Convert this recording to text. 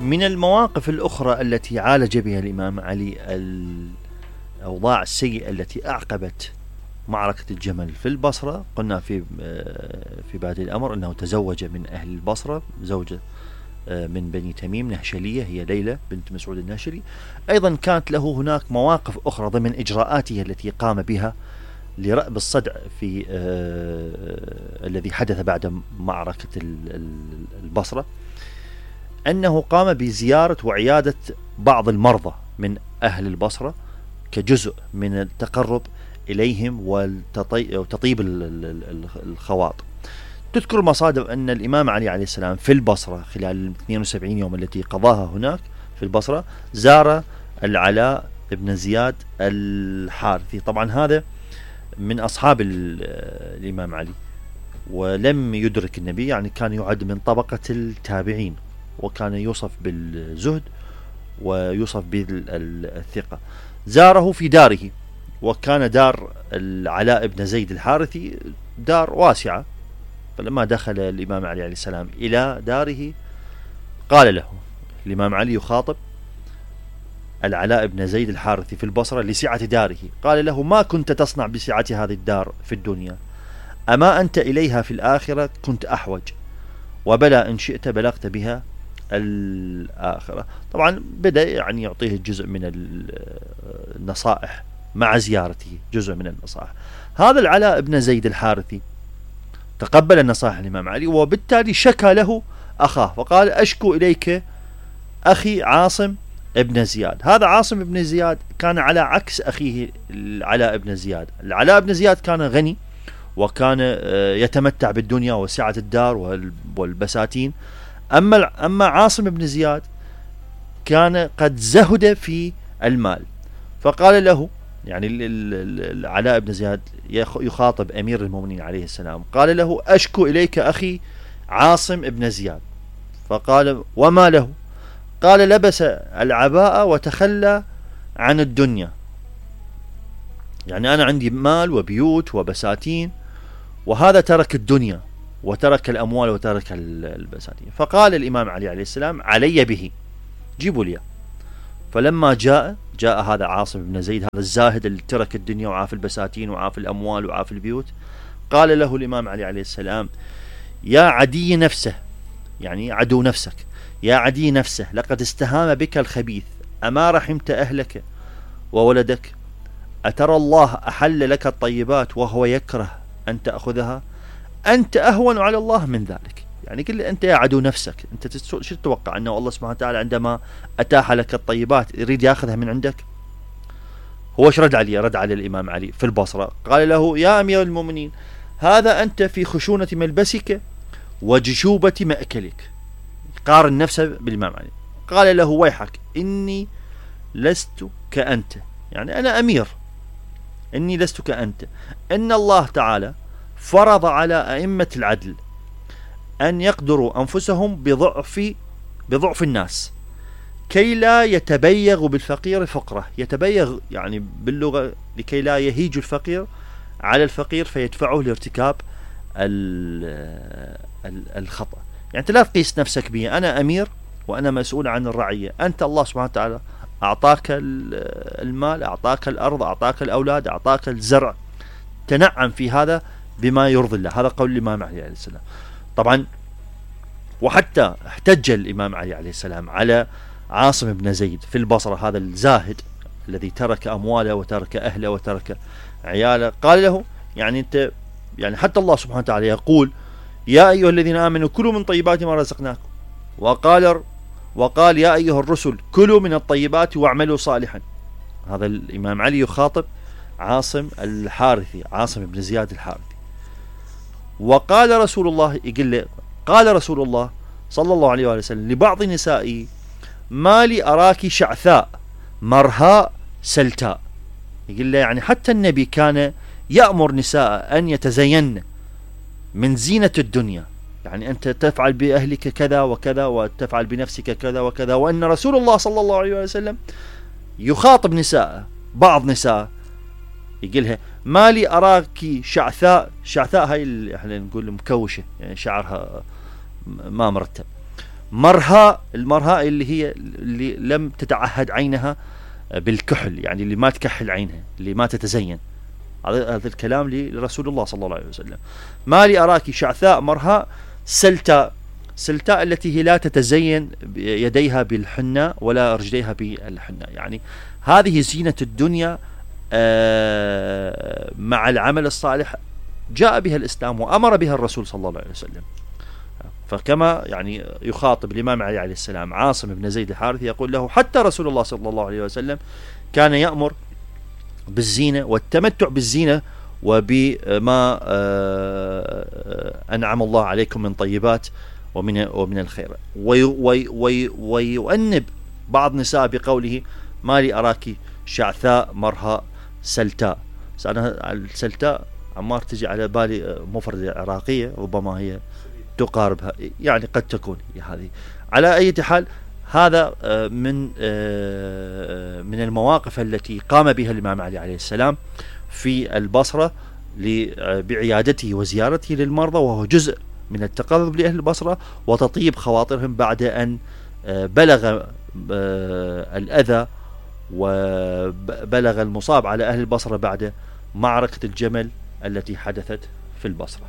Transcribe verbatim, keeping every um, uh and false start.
من المواقف الأخرى التي عالج بها الإمام علي الأوضاع السيئة التي أعقبت معركة الجمل في البصرة، قلنا في في بادئ الأمر أنه تزوج من أهل البصرة زوجة من بني تميم نهشلية، هي ليلى بنت مسعود النهشلي. أيضا كانت له هناك مواقف أخرى ضمن إجراءاته التي قام بها لرأب الصدع في آه الذي حدث بعد معركة البصرة، أنه قام بزيارة وعيادة بعض المرضى من أهل البصرة كجزء من التقرب إليهم وتطيب الخواطر. تذكر المصادر أن الإمام علي عليه السلام في البصرة خلال ال اثنين وسبعين يوم التي قضاها هناك في البصرة زار العلاء بن زياد الحارثي. طبعا هذا من أصحاب الإمام علي ولم يدرك النبي، يعني كان يعد من طبقة التابعين، وكان يوصف بالزهد ويوصف بالثقة. زاره في داره، وكان دار العلاء بن زيد الحارثي دار واسعة. فلما دخل الإمام علي عليه السلام إلى داره قال له الإمام علي يخاطب العلاء بن زيد الحارثي في البصرة لسعة داره، قال له: ما كنت تصنع بسعة هذه الدار في الدنيا؟ أما أنت إليها في الآخرة كنت أحوج، وبلا إن شئت بلغت بها الآخرة. طبعا بدأ يعني يعطيه جزء من النصائح مع زيارته، جزء من النصائح. هذا العلاء بن زيد الحارثي تقبل نصائح الإمام علي، وبالتالي شكى له أخاه وقال: أشكو إليك أخي عاصم ابن زياد. هذا عاصم ابن زياد كان على عكس أخيه العلاء بن زياد. العلاء بن زياد كان غني وكان يتمتع بالدنيا وسعة الدار والبساتين، أما أما عاصم بن زياد كان قد زهد في المال. فقال له، يعني العلاء بن زياد يخاطب أمير المؤمنين عليه السلام، قال له: أشكو إليك أخي عاصم بن زياد. فقال: وما له؟ قال: لبس العباءة وتخلى عن الدنيا، يعني أنا عندي مال وبيوت وبساتين، وهذا ترك الدنيا وترك الأموال وترك البساتين. فقال الإمام علي عليه السلام: علي به، جيبوا لي. فلما جاء جاء هذا عاصم بن زيد، هذا الزاهد اللي ترك الدنيا وعاف البساتين وعاف الأموال وعاف البيوت، قال له الإمام علي عليه السلام: يا عدي نفسه، يعني عدو نفسك، يا عدي نفسه، لقد استهام بك الخبيث، أما رحمت أهلك وولدك؟ أترى الله أحل لك الطيبات وهو يكره أن تأخذها؟ أنت أهون على الله من ذلك. يعني قل أنت يا عدو نفسك، أنت شو تتوقع أنه الله سبحانه وتعالى عندما أتاح لك الطيبات يريد يأخذها من عندك؟ هو ايش رد عليه؟ رد على الإمام علي في البصرة قال له: يا أمير المؤمنين، هذا أنت في خشونة ملبسك وجشوبة مأكلك. قارن نفسه بالإمام علي. قال له: ويحك، إني لست كأنت، يعني أنا أمير، إني لست كأنت. إن الله تعالى فرض على أئمة العدل أن يقدروا أنفسهم بضعف بضعف الناس كي لا يتبيغ بالفقير فقره. يتبيغ يعني باللغة لكي لا يهيج الفقير على الفقير فيدفعه لارتكاب الخطأ. يعني أنت لا تقيس نفسك بي، أنا أمير وأنا مسؤول عن الرعية، أنت الله سبحانه وتعالى أعطاك المال، أعطاك الأرض، أعطاك الأولاد، أعطاك الزرع، تنعم في هذا بما يرضي الله. هذا قول الإمام علي عليه السلام. طبعا وحتى احتج الإمام علي عليه السلام على عاصم بن زيد في البصرة، هذا الزاهد الذي ترك أمواله وترك أهله وترك عياله. قال له: يعني أنت، يعني حتى الله سبحانه وتعالى يقول: يا أيها الذين آمنوا كلوا من طيبات ما رزقناكم، وقال وقال يا أيها الرسل كلوا من الطيبات واعملوا صالحا. هذا الإمام علي يخاطب عاصم الحارثي، عاصم بن زياد الحارثي. وقال رسول الله، يقول له: قال رسول الله صلى الله عليه وسلم لبعض نسائه: ما لي أراك شعثاء مرهاء سلتاء. يقول له يعني حتى النبي كان يأمر نساء أن يتزين من زينة الدنيا، يعني أنت تفعل بأهلك كذا وكذا وتفعل بنفسك كذا وكذا. وأن رسول الله صلى الله عليه وسلم يخاطب نساء، بعض نساء يقولها: ما لي أراك شعثاء. شعثاء هاي احنا نقول مكوشة، يعني شعرها ما مرتب. مرهاء، المرهاء اللي هي اللي لم تتعهد عينها بالكحل، يعني اللي ما تكحل عينها، اللي ما تتزين. هذا هذا الكلام لرسول الله صلى الله عليه وسلم. ما لي أراك شعثاء مرهاء سلتاء، سلتاء التي هي لا تتزين يديها بالحنة ولا رجليها بالحنة. يعني هذه زينة الدنيا مع العمل الصالح جاء بها الإسلام وأمر بها الرسول صلى الله عليه وسلم. فكما يعني يخاطب الإمام علي عليه السلام عاصم بن زيد الحارثي يقول له حتى رسول الله صلى الله عليه وسلم كان يأمر بالزينة والتمتع بالزينة وبما أنعم الله عليكم من طيبات ومن ومن الخير. ويؤنب بعض نساء بقوله ما لي أراك شعثاء مرهاء سلتاء. أنا السلتاء عمار تجي على بالي مفردة عراقية، ربما هي تقاربها، يعني قد تكون هذه. على أي حال هذا من من المواقف التي قام بها الإمام علي عليه السلام في البصرة بعيادته وزيارته للمرضى، وهو جزء من التقرب لأهل البصرة وتطيب خواطرهم بعد أن بلغ الأذى وبلغ المصاب على أهل البصرة بعد معركة الجمل التي حدثت في البصرة.